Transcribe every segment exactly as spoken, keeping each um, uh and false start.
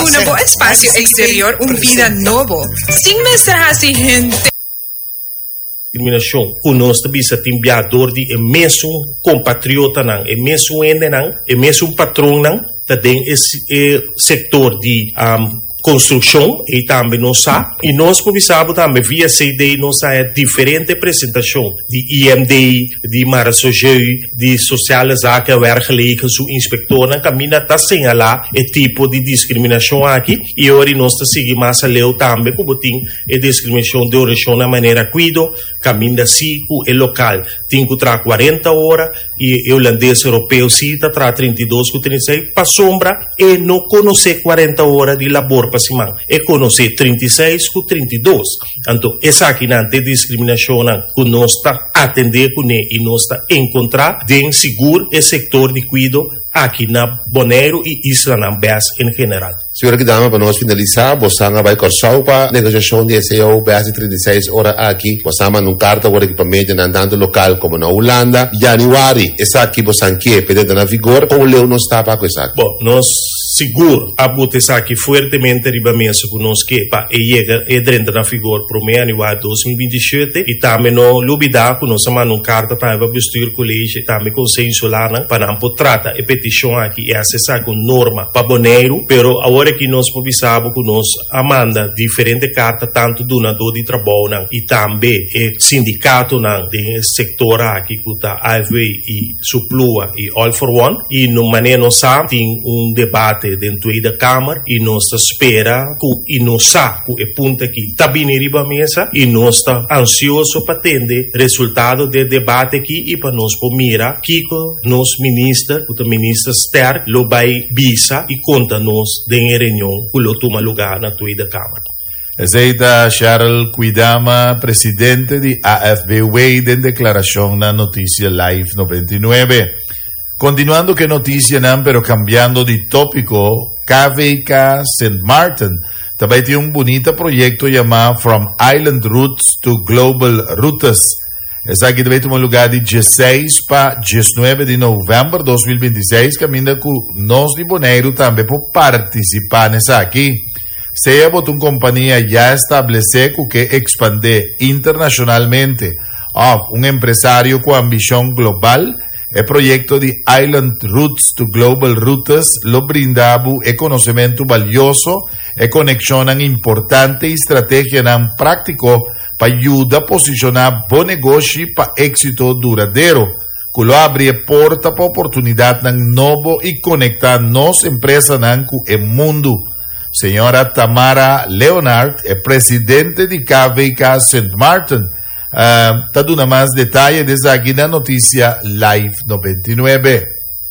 Duna bo espasio eksterior un bida nobo. Sin mester hasi hende. Diskriminashon ku nos ta bisa tin bia dor di e mesun kompatriotanan, e mesun hendenan, e mesun patronnan, ta den e, e sektor di um, konstrukshon i tambe nos sa i nos por bisa tambe via C D, nos sa diferente presentashon di I M D, di Marechaussee, di Sociale Zaken, Werkgelegen, su inspektornan kaminda ta señalá e tipo di diskriminashon aki. I awor nos ta sigui mas aleu tambe ku tin e diskriminashon di orashon na manera kuido, kaminda si ku e lokal tin ku traha kuarenta ora i e hulandes europeo si ta traha trinta i dos ku trinta i seis, pasombra e no konosé kuarenta ora di labor pa siman, e konosé trinta i seis ku trinta i dos. Anto esakinan ta diskriminashon ku nos ta atendé kuné i nos ta enkontrá den sigur e sektor di kuido aki na Boneiru i islanan bes en general. Señora Kwidama, pa nos finalisá, boso a bai Kòrsou pa negosiashon di C A O bes di trinta i seis ora aki. Boso a manda un karta awor pa medio tantu lokal komo na Hulanda. Yanüari, esaki boso ke pa e na vigor, kon leu nos ta pa esaki? Bon, nos sigur a buta esaki fuertemente riba mesa ku nos ke pa e yega e drenta na vigor promé yanüari dos mil binti i shete. I tambe no lubidá ku nos a manda un karta tambe pa bestuurscollege, tambe konseho insular, pa nan por trata e petishon aki i hasi esaki un norma pa Boneiru. Pero awor aki nos por bisa ku nos a manda diferente karta tantu dunadó di trabounan i tambe e sindikatonan den sektor aki ku ta A F W i Suplua i All for One, i no manera nos sa tin un debate den Tweede Kamer i nos ta spera ku i nos sa ku e punto aki ta bini riba mesa i nos ta ansioso pa tende resultado di debate aki i pa nos por mira kiko nos minister, ku minister Sterk, lo bai bisa i konta nos den reunion ku lo tuma lugá na Tweede Kamer. Esei ta Cheryl Kwidama, presidente di A F B W, den deklarashon na Notisia Live nobenta i nuebe. Kontinuando ku notisianan, pero kambiando di tópiko, K V K Saint Martin tambe tin un bunita proyekto yamá From Island Roots to Global Routes. Esaki ta bai tuma lugá di diesseis pa diesnuebe di novèmber di dos mil binti i seis, kaminda ku nos di Boneiru tambe por partisipá n'esaki. Sea bo ta un kompania ya establesé ku ke ekspandé internashonalmente, òf un empresario ku ambishon global, e proyekto di Island Roots to Global Routes lo brinda e konosementu balioso, e konekshon importante i strategia práktiko pa yuda posishoná bo negoshi pa éksito duradero, ku lo habri porta pa oportunidat nobo i konektá nos empresanan ku mundu. Señora Tamara Leonard, presidente di K V K Saint Martin, uh, ta duna mas detaye di esaki na Notisia Live nobenta i nuebe.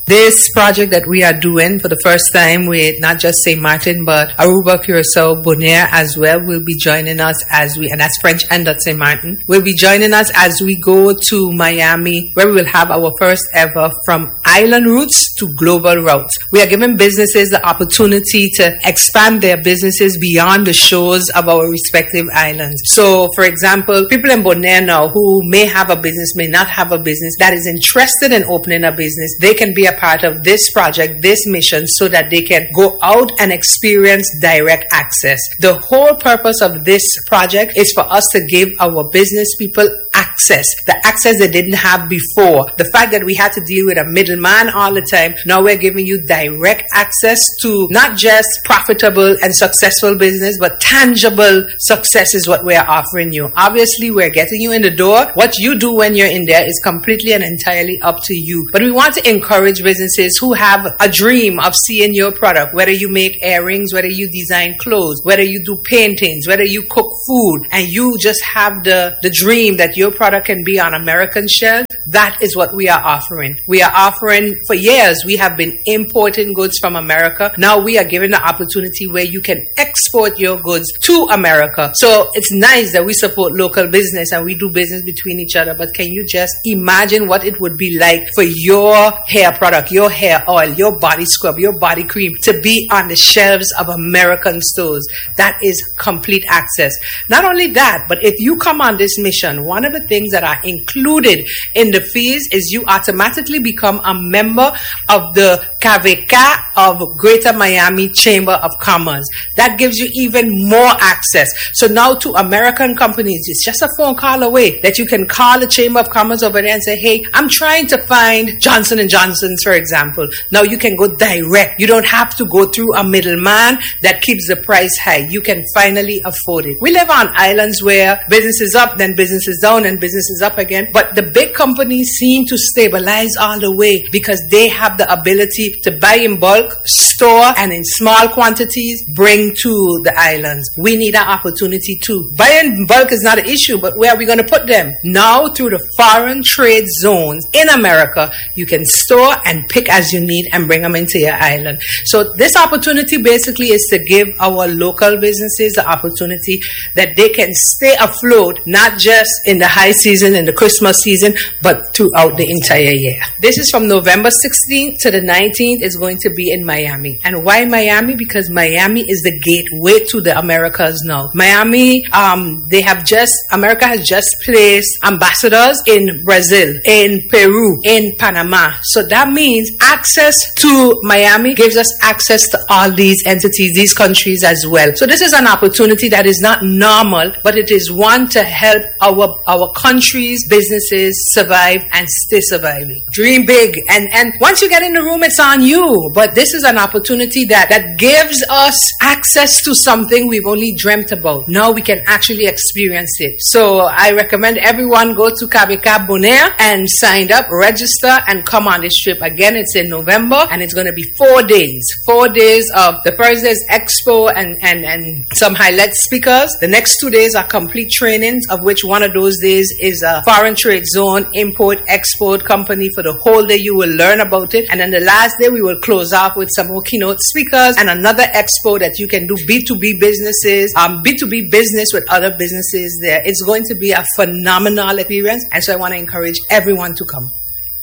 This project that we are doing for the first time with not just Saint Martin, but Aruba, Curacao, Bonaire as well will be joining us as we, and that's French and Dutch Saint Martin, will be joining us as we go to Miami, where we will have our first ever From Island Roots to Global Routes. We are giving businesses the opportunity to expand their businesses beyond the shores of our respective islands. So, for example, people in Bonaire now who may have a business, may not have a business, that is interested in opening a business, they can be a part of this project, this mission, so that they can go out and experience direct access. The whole purpose of this project is for us to give our business people access, the access they didn't have before. The fact that we had to deal with a middleman all the time, now we're giving you direct access to not just profitable and successful business, but tangible success is what we're offering you. Obviously, we're getting you in the door. What you do when you're in there is completely and entirely up to you. But we want to encourage businesses who have a dream of seeing your product, whether you make earrings, whether you design clothes, whether you do paintings, whether you cook food, and you just have the, the dream that your product can be on American shelf. That is what we are offering. We are offering, for years, we have been importing goods from America. Now we are giving the opportunity where you can export your goods to America. So it's nice that we support local business and we do business between each other, but can you just imagine what it would be like for your hair product, your hair oil, your body scrub, your body cream to be on the shelves of American stores? That is complete access. Not only that, but if you come on this mission, one of the things things that are included in the fees is you automatically become a member of the K V K of Greater Miami Chamber of Commerce. That gives you even more access. So now to American companies, it's just a phone call away that you can call the Chamber of Commerce over there and say, "Hey, I'm trying to find Johnson and Johnson's, for example." Now you can go direct. You don't have to go through a middleman that keeps the price high. You can finally afford it. We live on islands where business is up, then business is down, and business is up again. But the big companies seem to stabilize all the way because they have the ability to buy in bulk, store, and in small quantities bring to the islands. We need that opportunity too. Buying in bulk is not an issue, but where are we going to put them? Now, through the foreign trade zones in America, you can store and pick as you need and bring them into your island. So this opportunity basically is to give our local businesses the opportunity that they can stay afloat, not just in the high season, in the Christmas season, but throughout the entire year. This is from November sixteenth to the nineteenth. It's going to be in Miami. And why Miami? Because Miami is the gateway to the Americas now. Miami, um, they have just, America has just placed ambassadors in Brazil, in Peru, in Panama. So that means access to Miami gives us access to all these entities, these countries as well. So this is an opportunity that is not normal, but it is one to help our, our country's businesses survive and stay surviving. Dream big. And, and once you get in the room, it's on you. But this is an opportunity that, that gives us access to something we've only dreamt about. Now we can actually experience it. So I recommend everyone go to K V K Bonaire and sign up, register, and come on this trip. Again, it's in November and it's going to be four days. Four days of the first day is expo and, and, and some highlight speakers. The next two days are complete trainings, of which one of those days is a foreign trade zone, import, export company. For the whole day, you will learn about it. And then the last day, we will close off with some more keynote speakers and another expo that you can do B two B businesses, um, B two B business with other businesses there. It's going to be a phenomenal experience. And so I want to encourage everyone to come.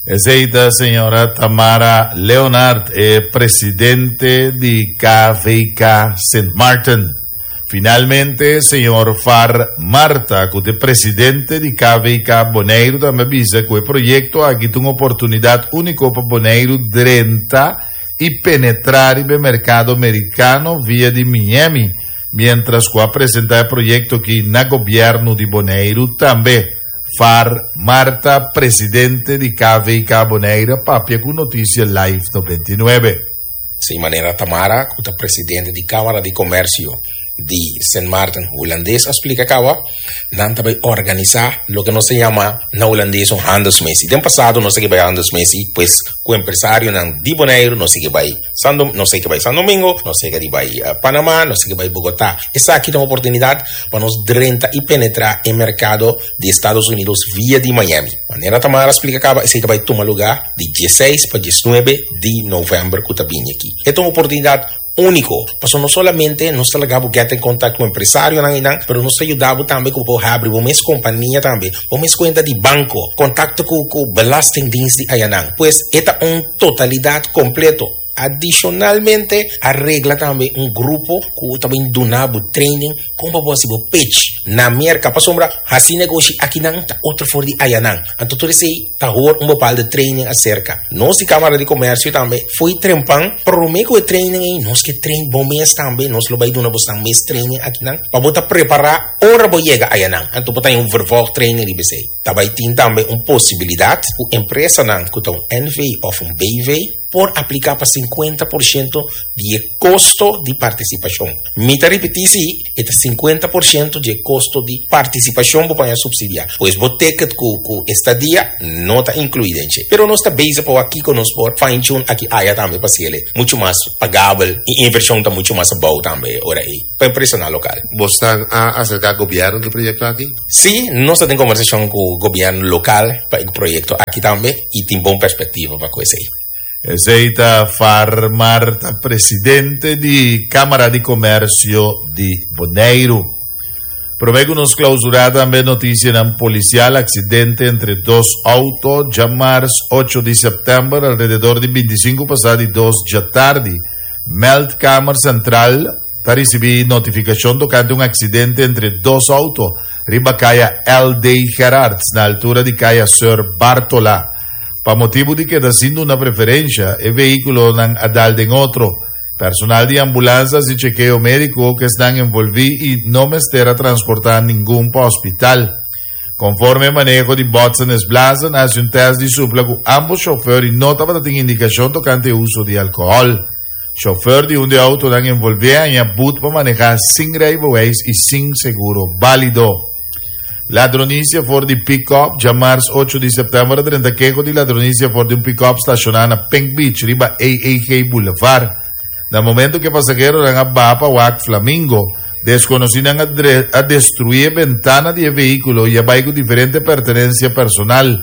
Esei ta señora Tamara Leonard, eh, presidente di K V K Saint Martin. Finalmente, señor Far Marta, ku ta presidente di K V K Boneiru, tambe a bisa ku e proyekto aki ta un oportunidat úniko pa Boneiru drenta i penetrá e merkado merikano via di Miami, mientras ku a presentá e proyekto aki na gobièrnu di Boneiru tambe. Far Marta, presidente di K V K Boneiru, papia ku Notisia Live nobenta i nuebe. Si, manera Tamara, ku ta presidente di Kámara di Komersio di Saint Martin hulandes a splika kaba, nan ta bai organisá loke nos ta yama na hulandes un handelsmissie. Den pasado nos a bai handelsmissie, pues ku empresarionan di Boneiru, nos a bai Sando, nos a bai San Domingo, nos a bai uh, Panamá, nos a bai Bogotá. Esaki ta un oportunidat pa nos drenta i penetrá e merkado di Estados Unidos via di Miami. Manera Tamara a splika kaba, esei ta bai tuma lugá di diesseis pa diesnuebe di novèmber ku ta bini aki. E ta un oportunidat úniko. Paso no solamente nos ta laga bo get in kontakto ku empresarionan nan, pero nos ta yuda bo tambe ku habri bo mes kompania tambe, bo mes kuenta di banko, kontakto ku ku belastingdienst di ayanan. Pues e ta un totalidat kompleto. Adishonalmente, a regla tambe un grupo ku tambe ta duna training kon pa bo pitch na Merka, pasombra hasi negoshi akinan ta otro for di ayanan. Anto tur esei ta hoor un bepaalde training aserka. Nos di Kámara di Komersio tambe for di trempan promé ku e training ei nos ke train bo mes tambe, nos lo bai duna bo mes training akinan pa bo ta prepará ora bo yega ayanan. Anto bo ta un vervolg training di B C. Tambe tin tambe un posibilidat ku empresanan ku un N V òf un B V por apliká pa sinkuenta porshento di kosto di partisipashon. Mi ta ripití, e ta sinkuenta porshento di kosto di partisipashon pa supsidiá. Pues bo ticket ku ku estadia no ta inkluí. Pero nos ta bezig pa aki ku nos por fine tune aki aya tambe pa hasié muchu mas pagabel i invershon ta muchu mas abou tambe ora ei pa empresa lokal. Bo a aserká gobièrnu ku e proyekto aki? Si, nos tin kombersashon ku gobièrnu lokal pa e proyekto aki tambe i tin bon perspektiva pa esei. Esei ta Far Marta, presidente di Kámara di Komersio di Boneiru. Promé ku nos klousurá, tambe notisia polisial: aksidente entre dos outo, djamars ocho di sèptèmber, alrededor di bintisinku pasá di dos di atardi. Meldkamer Sentral ta risibí notifikashon tokante un aksidente entre dos outo. Riba Kaya L D. Gerards, na altura di Kaya Sir Bartola. Pa motibu di keda sin duna preferensia, e vehíkulonan a dal den otro. Personal di ambulans i chekeo médiko ku ta envolví i no mester a transportá ningun pa hospital. Konforme maneho di botsen is blazen, a hasi un tèst di supla ku ambos shofùr i no tabatin indikashon tokante uso di alkohòl. Shofùr di un di e outonan envolví a haña but pa manehá sin rijbewijs i sin seguro válido. Ladronisia for di pick-up, djamars ocho di sèptèmber, drenta keho di ladronisia for di un pick-up stashoná na Pink Beach, riba A A G Boulevard. Na momento ku e pasaheronan a baha pa wak flamingo, deskonosínan a, a destruí e bentana di vehíkulo i a bai ku diferente pertenensia personal.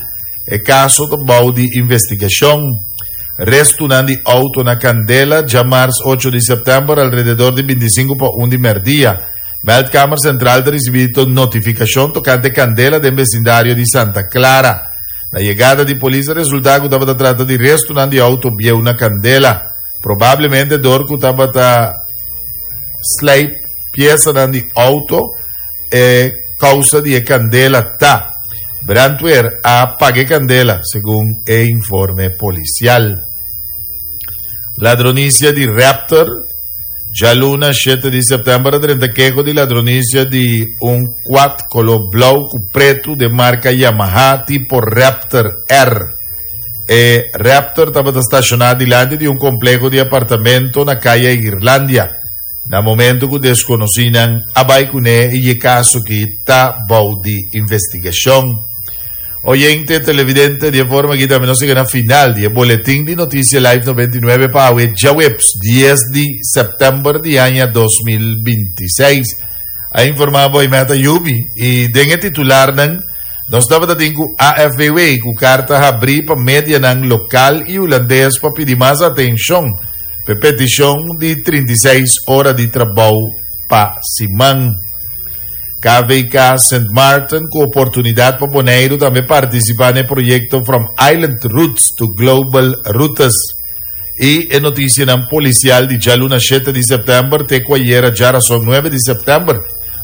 E kaso ta bou di investigashon. Restonan di outo na kandela, djamars ocho di sèptèmber, alrededor di bintisinku pa un di mèrdia. Meldkamer Sentral a risibí notifikashon tokante kandela den besindario di Santa Clara. Na yegada di polis, resultá ku tabata trata di restonan di outo bieu na kandela. Probablemente dor ku tabata sleip piesa di outo e kousa di kandela ta. Brandweer a paga kandela, segun e informe polisial. Ladronisia di Raptor, djaluna shete di sèptèmber, drenta keho di ladronisia di un quad koló blou ku pretu di marka Yamaha tipo Raptor R. E Raptor tabata stashoná dilanti di un kompleho di apartamento na Kaya Irlandia. Na momento ku deskonosínan a bai kuné i e kaso aki ta bou di investigashon. Oyente, televidente, di forma ku tambe nos a yega na final di boletin di Notisia Live nobentinuebe pa djaweps dies di sèptèmber di aña dos mil bintiseis. A informá Meta Yubi i den titularnan nos tabatin ku A F B W ku karta habrí pa medianan lokal i hulandes pa pidi mas atenshon pa petishon di trinta i seis ora di trabou pa siman. K V K Saint Martin ku oportunidat pa Boneiru tambe partisipá den e proyekto From Island Roots to Global Routes. I e notisia polisial di djaluna shete di sèptèmber, te ku ayera djárason nuebe di sèptèmber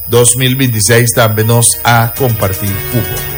dos mil bintiseis tambe nos a kompartí ku bo.